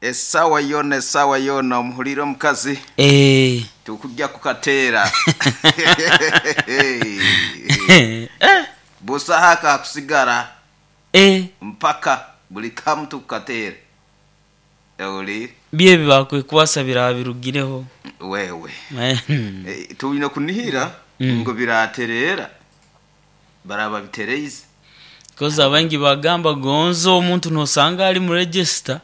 Essaawa yoona essaawa yoona omuhuliire omukazi. Eeh. Tukujja kukateera. Busaho akakusigara. Mpaka buli kamu tukukateera. Ohuliire? Byo ebi baakwekwasa biraaba birugireho. Wewe. Twine kunihira ngu biraatereera, baraaba babitereize. Kozi abaingi bagamba gonza omuntu nosanga ali mu register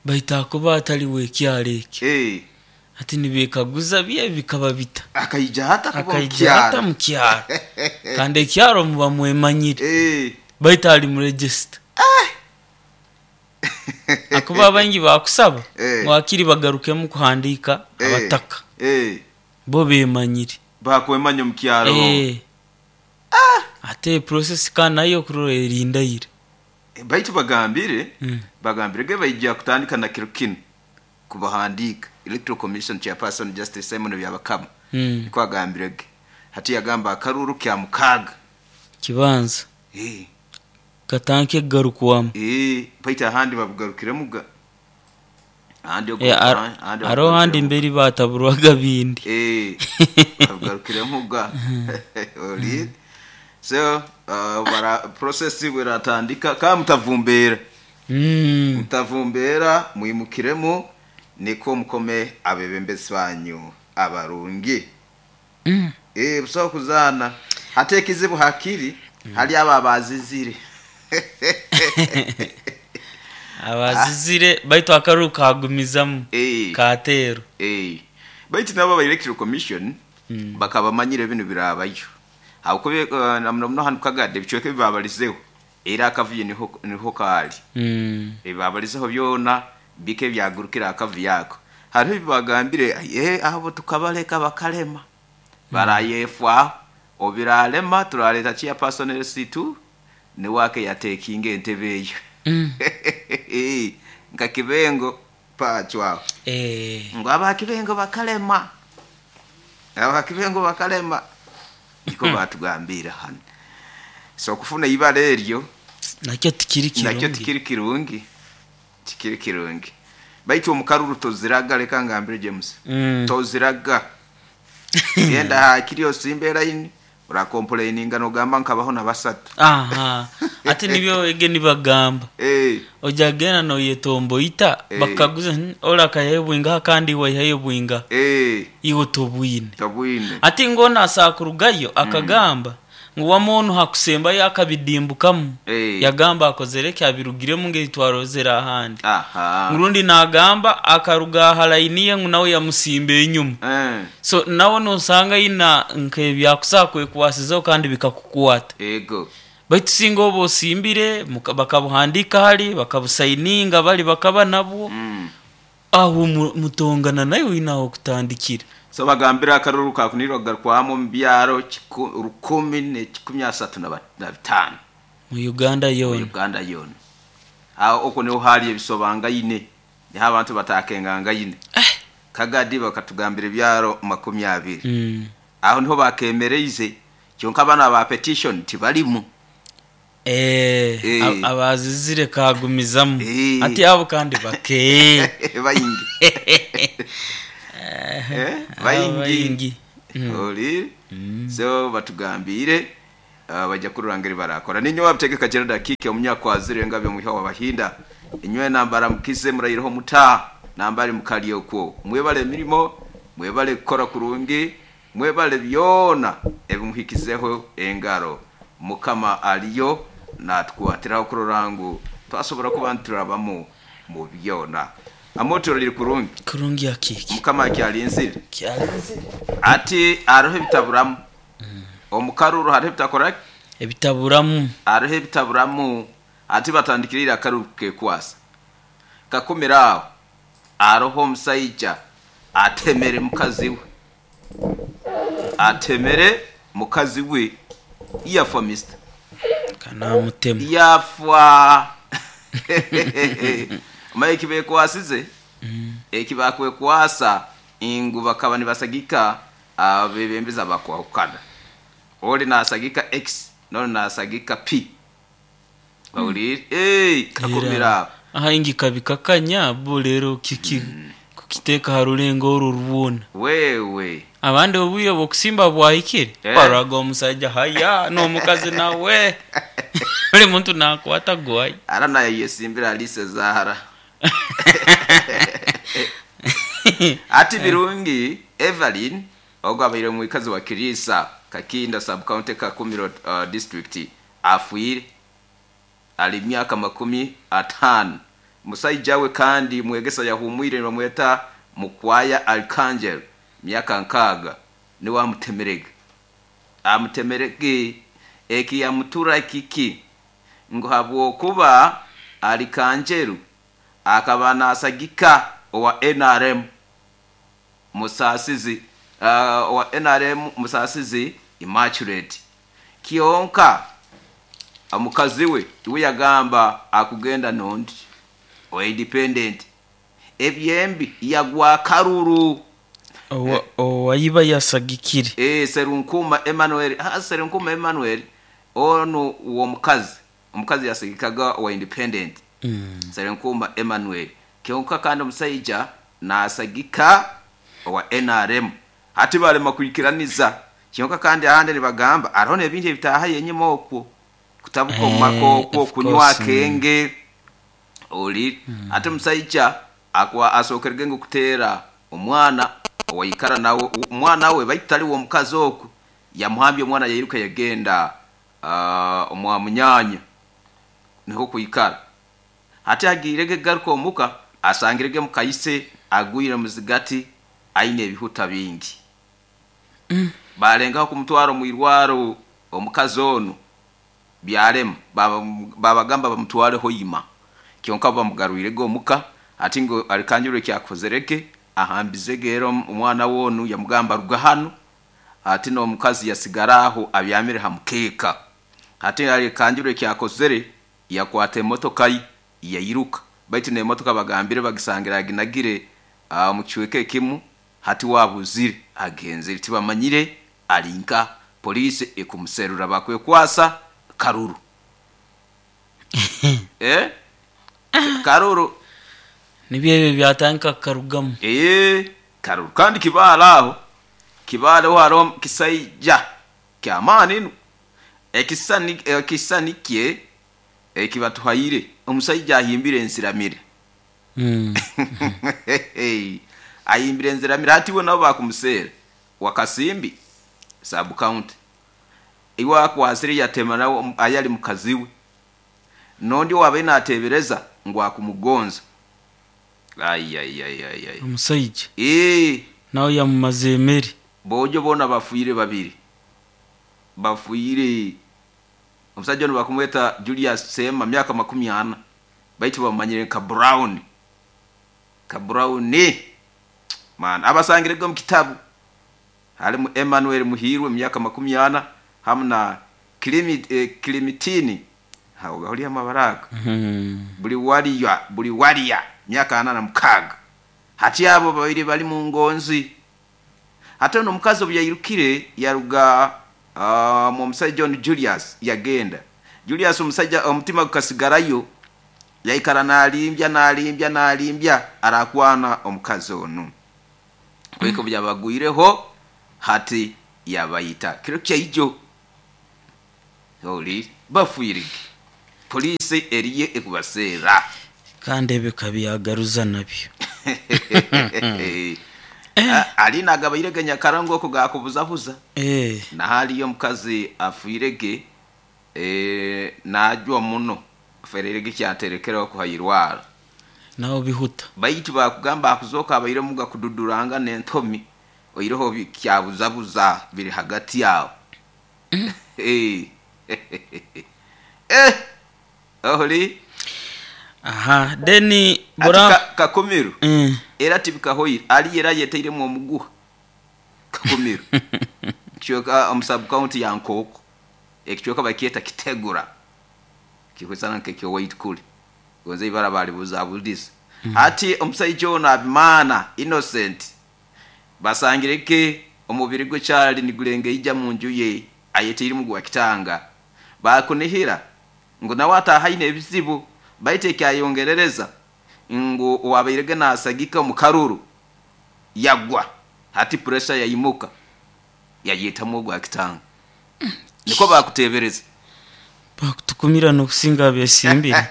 baitu akuba atali w'ekyaro ekyo. Hati nibekaguza byo ebi bikaba bita? Akaija ata kuba mu Akaija ata kyaro? mu kyaro? Kandi ekyaro muba mwemanyire baitu ali mu register. Akuba abaingi bakusaba ngu hakiri bagarukemu kuhandiika abataka. Bo bemanyire. Bakwemanya omu kyaro. Ate process ka nayo okurora erindaire. Baitu bagambire, bagambire ge baija kutandika na kiro kinu kubahandiika. Electoral Commission Chairperson Justice Simon Byabakama nikwo agambire ge. Hati yagamba akaruuru kya mukaaga. Kibanza. Katanke kugarukwamu. Baitu ahandi babugarukiremu ga. Ahandi ogu ahandi Haroho ahandi babugarukiremu. mberi baataburwaga bindi. Babugarukiremu ga. Oli. So bara process bweratandika ka mutavumbeera. Mutavumbeera mwimukiremu nikwo mukome abebembezi banyu abarungi. Busaho kuzaana. Hati ekizibu hakiri hali abo abazizire. Abazizire baitu akaruru kagumizamu kateerwa. Baitu nabo aba Electoral Commission bakaba bamanyire binu biraabayo. Habwokuba na muno muno hanu Kagadi ebicweka ebi baabalizeho era akavuyo niho kaali. Ebi baabalizeho byona bike ebyagurukire aha kavuyo ako. Hariho ebi baagambire abo tukabaleka bakalema. Baraayefwaho. Obu biraalema turaaleeta Chairperson LC2 niwe akeyateekinga entebe eyo. Nka Kibengo Pacho aho. Ngu aba Kibengo bakalema. Aba Kibengo bakalema. Nikwo baatugambiire hanu. So okufuna eibara eryo Nakyo tikiri nakyo kirungi. tikiri kirungi. Tikiri kirungi. Baitu omu karuru toziraga leka ngambire James. Toziraga. Genda hakiri osimbe eraini orakompuleininga nogamba nkabaho na basatu. Aha. Ati nibyo ege nibagamba. Oja genda noyetomboita bakakuguza ore akaihayo bwingaha kandi iwe waihayo bwingaha. Iwe tobwine. Tobwine. Ati ngu onu asobola kurugayo akagamba ngu wama onu hakusembayo akabidimbukamu. Yagamba akozere ki abirugiremu ngeri twarozere ahandi. Ngu rundi nagamba akaruga aha layini ye ngu nawe yamusimba enyuma. So nawe nosanga aina nk'ebyakusobola kwekwasizaho kandi bikakukwata. Baitu singa oba osimbire bakabuhandiika hali, bakabusayininga bali bakaba nabwo, aho mutongana naiwe oine ah'okutandikira. So bagambire akaruru kakunirwe kugarukwamu omu byaro rukumi n'ekikumi asatu na bitaano. Mu Uganda Mu yoona. Uganda yoona. Aho okwo niho haali ebisobangaine, niho abantu bataakengangaine. Kagadi bakatugambira ebyaro makumi abiri. Aho niho baakemereize, kyonka banu aba petition tibarimu. Abazizire kaagumizamu. Ati abo kandi bake. Baingi. Abo Baingi. baingi. Ohuriire? So batugambiire baija kurora ngeri barakora. Ninyowe Abitegeka Gerald Akiiki omunyakwazire engabi omwiha w'Abahinda. Inywena mbaramukize muraireho muta nambari mukali okwo. Mwebale emirimo, mwebale kukora kurungi, mwebale byona ebimuhikizeho engaro. Mukama ariyo natukwatiraho kurora ngu twasobora kuba niturabamu mu byona. Amoto riri kurungi. Kurungi Akiiki. Mukama akyalinzire. Akyalinzire. Ati hariho ebitaburamu. Omu karuru hariho ebitakora ki? Ebitaburamu. Hariho ebitaburamu. Ati batandikire ira akaruru kukekwasa. Kakumire aho, hariho omusaija atemere mukazi we. Atemere mukazi we yafa Mister. Kanamutema. Yafa. Omanye ekibekwasize? Ekibakwekwasa ngu bakaba nibasagika abebembezi abakwahukana. Ori nasagika X n'ori nasagika P. Ohuriire? Kakumire aho. Ahaingi kabikakanya bo rero kiki kukiteeka ha rulengo oru rwona. Wewe Abandi obwire bw'okusimba bwahikire, baraga omusaija haya n'omukazi nawe. Buli muntu nakwata gwayi. Ara nayo yesimbira Alice Zahara. Ati Birungi Evelyn ogwo abaire omwikazi wa Kirisa Kakinda sub-county Kakumiro district afwire ali myaka 50. Musaija we kandi mwegesa yahumwire nibamweta Mukwaya Archangel myaka 6 niwe amutemerege. Amutemerege eki yamutura kiki ngu habwokuba Archangel akaba nasagika owa NRM Musasizi owa NRM Musasizi Immaculate Kionka omukazi we iwe yagamba akugenda nondi o independent ebyembi yagwa karuru owayiba yasagikire Serunkuma Emmanuel Serunkuma Emmanuel ono uwo omukazi yasagikaga wa independent. Serunkuma Emmanuel Kionka kandi omusaija nasagika owa NRM hati balema kuikiraniza. Kionka kandi ahandi nibagamba arone ebintu ebitaha yenyuma okwo kutabuka omumaka okwo kunywa kenge oli ate omusaija akwa asokerege ngu kutera omwana owaikara nawe omwana we baitali wo omukazi okwo yamuhambye omwana yairuka yagenda omwa munyanya niho kuikara hati agirege garuka omuka asangirege mukayise agwire muzigati aine ebihuta bingi. Balengaho kumutwara omwirwaro omukazi ono byalema babagamba bamutware hoima kyonka bamugarwirege omuka ati ngo alikanjure kyakozereke ahambizege era omwana wonu yamugamba ruga hano ati no omukazi yasigaraho abyamire hamukeka ati alikanjure kyakozere yakwata emotoka yayiruka baitu n'emotoka bagambire bagisangira aginagire mu kichweka ekimu hati wabuzire agenzere tibamanyire alinka polisi ekumuserura bakwekwasa karuru. Karuru nibyo byatanka karugamu karuru kandi kibala aho kibala haro kisaija kyamani nu ekisani kye ekibatuhaire omusaija ahimbire ensiramire. Ahimbire ensiramire hati we nabo bakumusera wakasimbi sub county iwa kwasire yatema nawo ayali mukaziwe nondi wabe natebereza ngo akumugonza ay omusaija nawe yamumaze emeri bojo bona bafuire babiri bafuire omusajja ono bakumweta Julius Sema myaka 40 baitu bamanyire ka Brown man abasangirego mu kitabu halimu Emmanuel Muhirwe myaka 40 hamna Klimitini hawo gahuli amabaraka buli waliya myaka 46 hati abo babiri bali mu ngonzi hata no mukazi obyayirukire yaruga mu musajja John Julius yagenda Julius omusajja omutima gukasigarayo yaikara nalimbya arakwana omukazi ono kweko byabagwireho hati yabayita kiro kyaijo oli bafuirige polisi eriye ekubasera kandi ebikabyagaruza nabyo alina agabairege nyakarango ko gakubuzabuza na hali yo mukazi afuirege najwa muno fererege kyaterekera ko hayirwara nawo bihuta baitu bakugamba akuzoka abaire muga kududuranga nentomi oiroho kyabuzabuza biri hagati yawo oholi aha deni bora kakumiru era tibikahoyi ali era yeteire mu omuguha kakumiru kiyoka omusub county ya Nkoko ekichoka bakieta kitegura kikwesana nkekyo white kuli gonze ibara bali buzabuliza ati omusajja ono Abimana Innocent basangireke omubiri gwe kyali nigulenge ija mu nju ye ayeteire mu gwa kitanga bakunihira ngo nawe atahaine ebizibu Baitu ekyayongerereza ngu owabairege nasagika omu karuru yagwa, hati pressure yaimuka yayetamu ogwa kitanga. Niko bakutebereza. Bakutukumira n'okusinga abesimbire.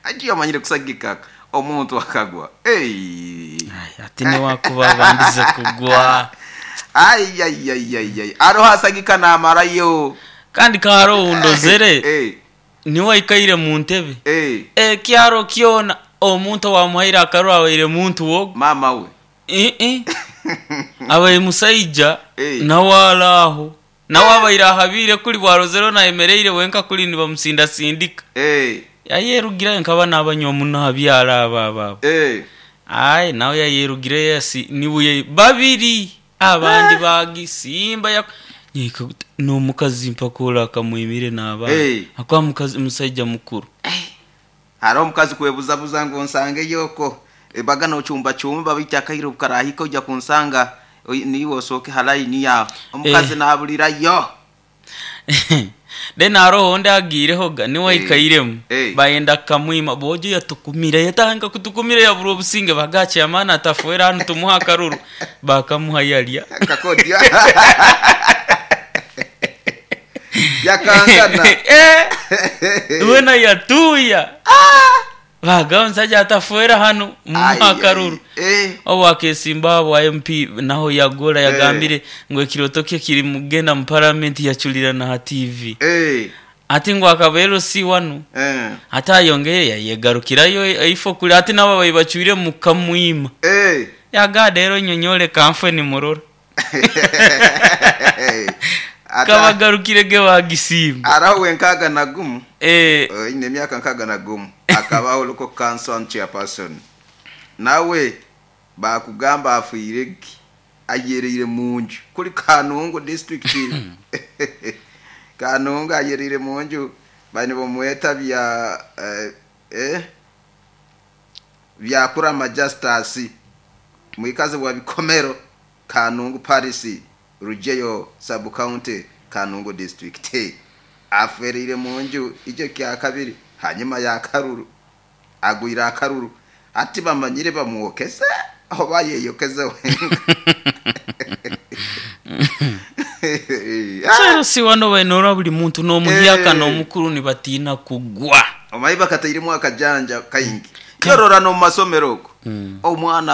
Agiye amanyire kusagika omuntu akagwa. Hey. Ai, ati niwakuba abandize kugwa. Ai ai ai ai ai. Aroho asagika namarayo. Kandi kaharo undozere niwaikaire mu ntebe. Ekyaro kyona omuntu wamuhaire akaruru abaire muntu wogo. Mama we. Abaire musaija nawe araho. Nawe abaire ahabire kuli bwarozero nayemereire wenka kuli nibamusindasindika. Yayerugirayo nkaba nabanywa muno habyara aba aba. Ai nawe yayerugireyo yasi niwe babiri abandi bagisimba ya nyika n'omukazi mpakura akamwimire n'abaana. Akwa mukazi musaija mukuru. Hariho omukazi kwebuzabuza ngu nsange yoko baga nochumba chumba bita akairo bukarahika ojja kunsanga niwe osooke halaini yawe omukazi nabulirayo. Then haroho onde agiirehoga niwe aikairemu bayenda kamwima bojo yatukumira yatanga kutukumira yabura obusinge bagache amana atafuera hanu tumuha akaruru bakamuha yalya kakodya yakangana wena yatuya baga omusajja atafuera hanu mumuha akaruru. Obu akesimba abo MP naho yagora yagambire ngu ekiroto kye kiri mugenda mu parliament yaculira na ha TV. Ati ngu akaba LC wanu. Ati ayongeye yayegarukirayo ifo kuli ati nabo bayibacwire mukamwima. Yagade rero nyonyole kamfwe ni murora. Kabagarukire ge bagisimba. Araho wenkaga na gumu. Ine myaka nkaga na gumu. Akabaho local council chairperson. Nawe bakugamba afuire ayereire munju kuli Kanungu district. Kanungu ayereire munju bani bomweta bya bya kurama justice mwikaze wa bikomero Kanungu Paris Rujeyo sub county Kanungu district. Aferire munju icyo kya kabiri hanyuma ya karuru agwira akaruru ati bamanyire bamwokeze aho bayeyokeze wenga. Si wano bainora buli muntu n'omuhyaka n'omukuru nibatina kugwa. Omayi bakatairemu akajanja kaingi. Yorora no masomero oko. Omwana